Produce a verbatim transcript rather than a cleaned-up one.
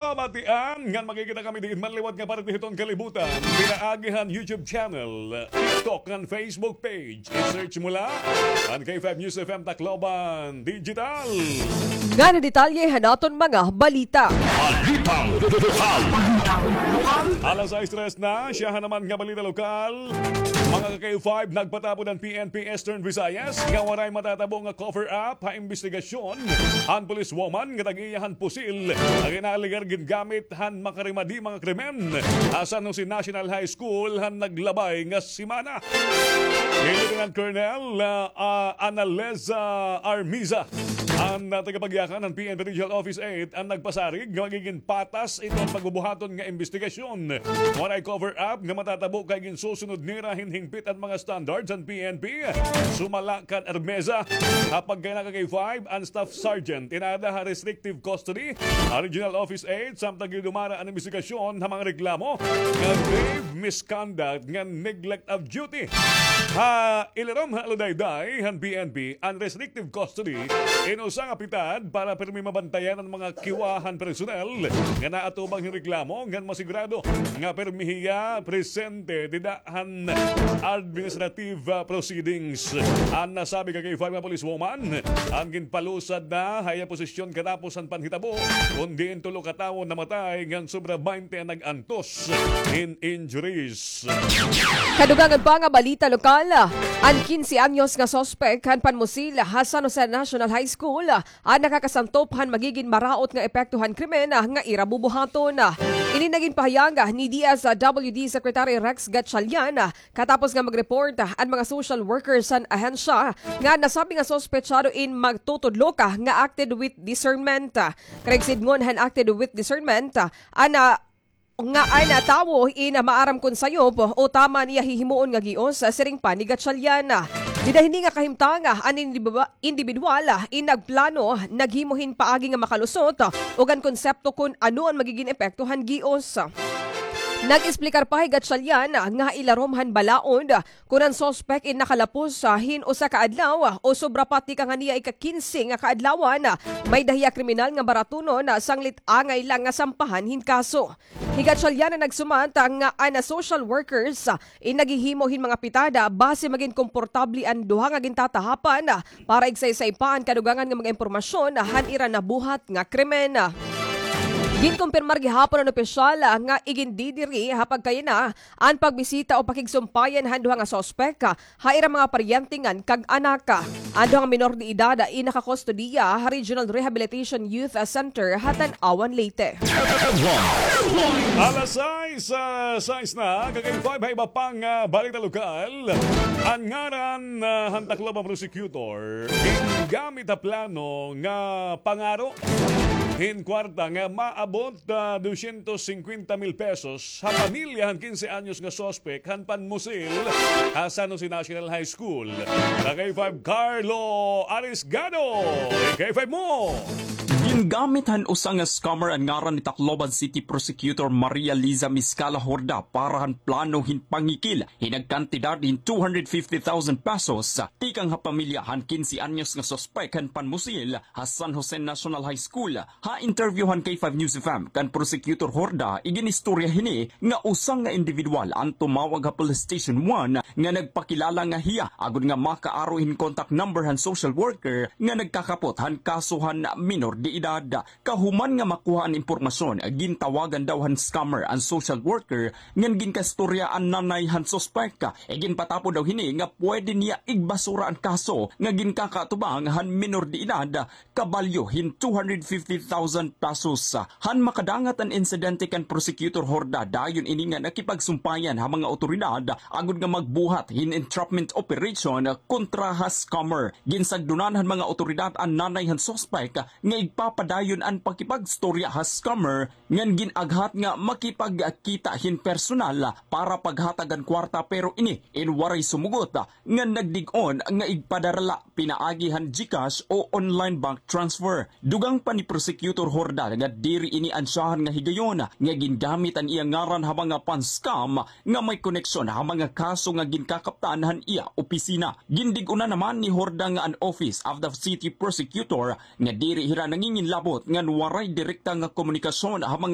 Kabatian, ngan makikita kami diin man liwat nga parte hiton kalibutan. Pinaagi han YouTube channel, TikTok, ngan Facebook page. I-search mo la an K five News F M Tacloban Digital. Ngan an detalye han aton mga balita. Balitang lokal. Alas sais tres na, siyahan naman nga balita lokal. Mga ka-K five, nagpatapod an P N P Eastern Visayas nga waray matatabo nga cover-up ha imbestigasyon han policewoman nga tag-iya han pusil nga gin-alegar gingamit han makarimadi mga krimen ha San Jose National High School han naglabay nga semana. Ni Lieutenant Colonel, ah, ah, Analeza Armiza, an, ah, tagapagyakan han P N P Regional Office eight, an nagpasarig nga magigin patas iton pagbubuhaton nga imbestigasyon. Waray cover-up nga matatabo kay ginsusunod nira hin hingpit an mga standards han P N P. Sumala kan Armeza, ha pagkaina ka K five, an Staff Sergeant in-aada ha restrictive custody ha Regional Office eight samtang gindumara an imbestigasyon ha mga reklamo nga grave misconduct ngan neglect of duty. Ha ilarom han aludayday han P N P, an restrictive custody in usa nga pitad para pirmi mabantayan an mga kiwa han personnel nga naatubang hin reklamo ngan masigurado nga pirmi hiya presente dida han administrative, ah, proceedings. An nasabi ka K five nga policewoman, an ginpalusad na ha iya posisyon katapos han panhitabo, kun diin tulo ka tawo namatay ngan sobra baynte an nag-antos hin injuries. Kadugangan pa nga balita lokal, an kinse anyos nga suspek han panmusil ha San Jose National High School an nakakasantop han magigin maraot nga epekto han krimen nga ira bubuhaton. Ini an ginpahayag ni D S W D Secretary Rex Gatchalian katapos nga mag-report an mga social workers han ahensya nga nasabi nga suspetsado in magtutudlok nga acted with discernment. Karuyag sidngon han acted with discernment, an, ah, nga an, ah, tawo in, ah, maaram kon sayop o tama an iya hihimuon nga gios, ah, siring pa ni Gatchalian. Dida hini nga kahimtang, ah, an individu-, individual, ah, in nagplano, naghimo hin paagi nga makalusot, ah, ug an konsepto kon ano an magigin epekto han gios. Nag-esplikar pa hi Gatchalian, ah, nga ha ilarom han balaod, ah, kon an suspek in nakalapos, ah, hin usa ka adlaw, ah, o sobra pa tikang han iya ika-kinse nga kaadlawan, ah, may-ada hiya kriminal nga baratunon, ah, sanglit angay la nga sampahan hin kaso. Hi Gatchalian an nagsumat, ah, nga an social workers, ah, in naghihimo hin mga pitada base magin komportable an duha nga gintatahapan, ah, para igsaysay pa an kadugangan nga mga impormasyon, ah, han ira nabuhat nga krimen. Ginkumpirmar gihapon han opisyal, ah, nga igindidiri ha pagkaina an pagbisita o pakigsumpayan han duha nga suspek, ah, ha ira mga paryente ngan kag-anak. An duha nga minor de edad in nakakustodiya ha Regional Rehabilitation Youth Center ha Tanauan, Leyte. Alas sais, ah, sais na, ka-K five, ha iba pang, ah, balita lokal. An ngaran, ah, han Tacloban prosecutor gingamit ha plano nga pangaro hin kwarta nga maabot, ah, dosyentos singkwenta mil pesos ha pamilya han kinse anyos nga suspek han panmusil ha San Jose National High School. Ka-K five Carlo Arisgado, K five mo! Gingamit han usa nga scammer an ngaran ni Tacloban City Prosecutor Maria Liza Miscala Horda para han plano hin pangikil hin nagkantidad hin two hundred fifty thousand pesos tikang ha pamilya han kinse anyos nga suspek han panmusil ha San Jose National High School. Ha interview han K five News F M kan Prosecutor Horda, iginistorya hini nga usa nga indibidwal an tumawag ha Police Station one nga nagpakilala nga hiya agod nga makaaro hin contact number han social worker nga nagkakapot han kaso han minor de edad. Kahuman nga makuha an impormasyon, gintawagan daw han scammer an social worker ngan ginkastorya an nanay han suspek. Iginpatapod daw hini nga pwede niya igbasura an kaso nga ginkakaatubang han minor de edad kabalyo hin two hundred fifty thousand pesos. Han makadangat an insidente kan Prosecutor Horda, dayon ini nga nakipagsumpayan ha mga otoridad agod nga magbuhat hin entrapment operation kontra ha scammer. Ginsagdonan han mga otoridad an nanay han suspek nga igpapadayon an pakipagstorya ha scammer ngan gin-aghat nga makipagkita hin personal para paghatag han kwarta, pero ini in waray sumugot ngan nagdig-on nga igpadara la pinaagi han GCash o online bank transfer. Dugang pa ni Prosecutor Horda nga diri ini an syahan nga higayon nga gingamit an iya ngaran ha mga pan-scam nga may koneksyon ha mga kaso nga ginkakaptan han iya opisina. Gindig-on na naman ni Horda nga an Office of the City Prosecutor nga diri hira nangingin Inlabot ngan waray direkta nga komunikasyon ha mga